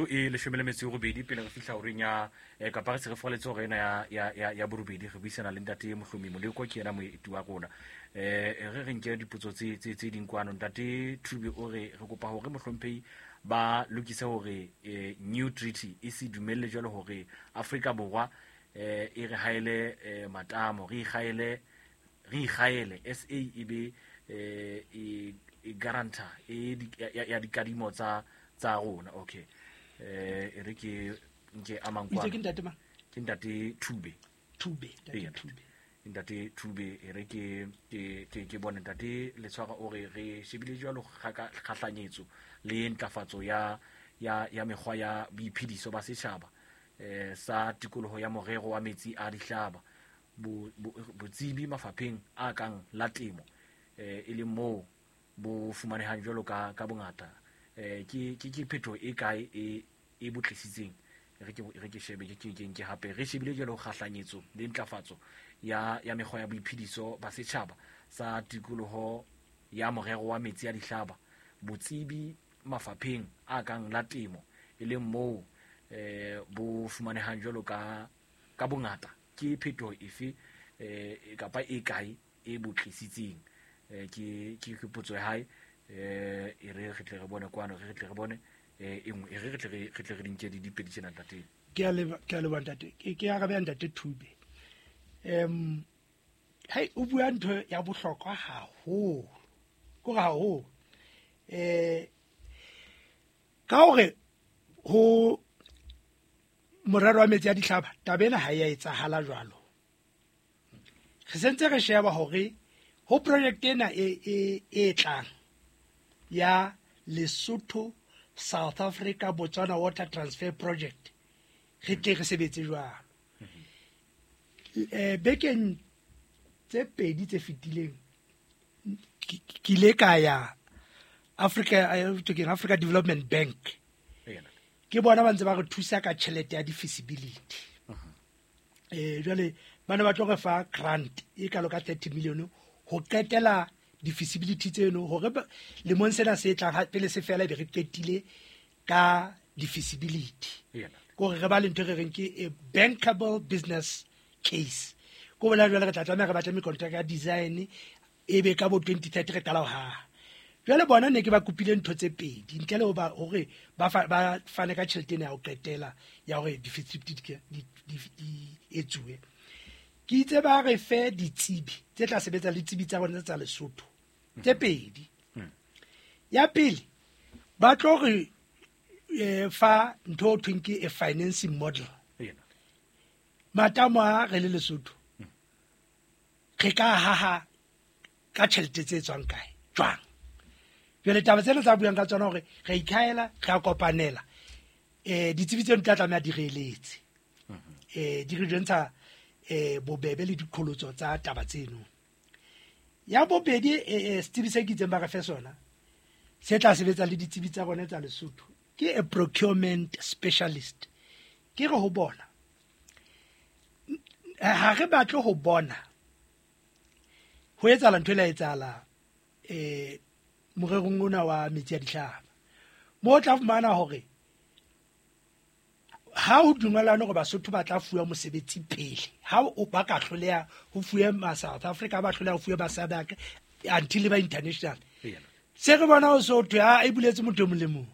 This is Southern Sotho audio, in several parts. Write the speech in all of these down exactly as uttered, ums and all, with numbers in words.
E leshome le metso e robedi pele re fihla horeng ya eh, kapa re se re foletse hore ena ya, ya, ya, ya borobedi. Re buisana le ntate Mohlomi Moleko, ke yena moeti wa rona. Eh re re nke dipotso tse tse tse ding kwano. Ntate Thube o re re kopa hore mohlomphehi ba lokise hore eh, new treaty e se dumelle jwalo hore Afrika Borwa eh e re haele eh, matamo, re ikgaele re ikgaele S A e be eh e e guarantor e ya, ya dikadimo tsa tsa rona. Okay, eh e re ke nke amang kwa ke ntate ma ke ntate Thube Thube ntate Thube ntate Thube e re ke ke ke bone ntate Letshwara o re re shebile jwalo kgahlanyetso le ntlafatso ya ya ya mekgwa ya boiphediso ba setjhaba eh sa tikoloho ya morero wa metsi a dihlaba botsebi mafapheng a kang la temo eh e le moo bo fumanehang jwalo ka ka bongata. Eh ke ke ke phetho e kae e e botlisitseng re ke re ke shebe ke ke ke hape re shebile jwalo kgahlanyetso le ntlafatso ya ya mekgwa ya boiphediso ba setjhaba sa tikoloho ya morero wa metsi a dihlaba botsebi mafapheng a kang la temo e leng moo eh bo fumanehang jwalo ka ka bongata. Ke phetho efe eh kapa e kae e botlisitseng? Eh ke ke potso ya hae. Eh e re re tle re bone kwano, re tle re bone eh e nngwe e re tle re tle re dinke di dipedi tsena ntate. Ke a leba ke a leba ntate. Ke ke arabe ntate Thube. Em hai o bua ntho ya bohlokwa haholo. Ko haholo. Eh ka hore ho morero wa metsi a dihlaba taba ena ha ya etsahala jwalo. Re sentse re sheba hore ho project ena e e e tlang ya Lesotho South Africa Botswana Water Transfer Project re tle re sebetse jwalo. Eh bekeng tse pedi tse fetileng ke ile ka ya Africa Africa Development Bank. Ke bona ba ntse ba re thusa ka tjhelete ya di-feasibility. Eh jwale bana ba tlo re fa grant e kalo ka thirty million ho qetela di-feasibility tseno hore lemong sena se tlang pele se fela be re qetile ka di-feasibility. Ko re ba le ntho re reng ke a bankable business case. Ko bona jwale re tla tlameha re batle mekontraka ya design e be ka bo twenty thirty re qala ho haha. Jwale bona ne ke ba kopile ntho tse pedi ntle le ho ba hore ba ba fane ka tjhelete ena ya ho qetela ya hore di-feasibility di di etsuwe. Ke itse ba re fe ditsebi tse tla sebetsa le ditsebi tsa rona tsa Lesotho tse pedi. Ya pele ba tlo re fa ntho o thweng ke a financing model. Matamo a re le Lesotho re ka haha ka tjhelete tse tswang kae jwang. Jwale taba tsena tsa buang ka tsona hore re ikhaela re a kopanela eh ditsebi tseno di tla tlameha di re eletse eh di re jwentsha eh bobebe le dikholotso tsa taba tseno. Ya bobedi eh setsebi se ke itseng ba re fe sona se tla sebetsa le ditsebi tsa rona tsa Lesotho ke a procurement specialist. Ke re ho bona ha re batle ho bona ho etsahala ntho e la etsahala eh morerong ona wa metsi a dihlaba mo tla fumana hore ha o dumelana hore Basotho ba tla fuwa mosebetsi pele ha o ba ka hloleha ho fuwe ma South Africa ba hloleha ho fuwe ba S A D C until ba international. Se re bona ho so thwe ha e buletse motho e mong le mong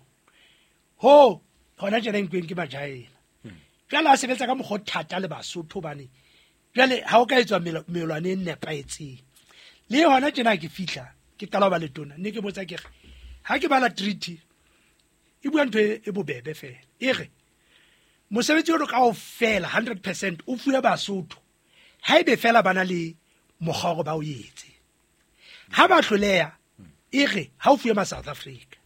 ho hona tjena nkweng ke majaena. Jwale a sebetsa ka mokgwa o thata le Basotho bane jwale ha o ka etswa melwane e nepahetseng. Le hona tjena ke fihla ke qala ho ba letona ne ke botsa ke re ha ke bala treaty e bua ntho e bobebe fela e re mosebetsi ono kaofela hundred percent o fuwe Basotho haebe fela ba na le mokgwa hore ba o etse. Ha ba hloleha e re ha o fuwe ma South Africa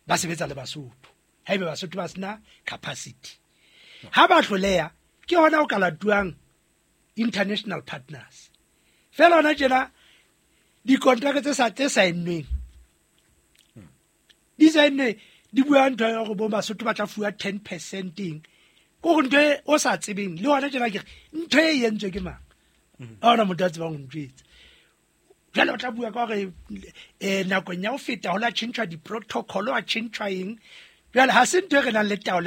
ba sebetsa le Basotho haebe Basotho ba sena capacity. Ha ba hloleha ke hona o ka latuang international partners. Fela hona tjena dikontraka tse sa tse saennweng di saennwe di bua ntho ya hore bo Basotho ba tla fuwa ten percent eng ko go ntho e o sa tsebeng le hona tjena ke re ntho e entswe ke mang ha hona motho a tsebang ho ntjwetsa. Jwale o tla bua ka hore eh nakong ya ho feta ho la tjhentjhwa di-protocol a tjhentjhwa eng. Jwale ha se ntho e re nang le taolo.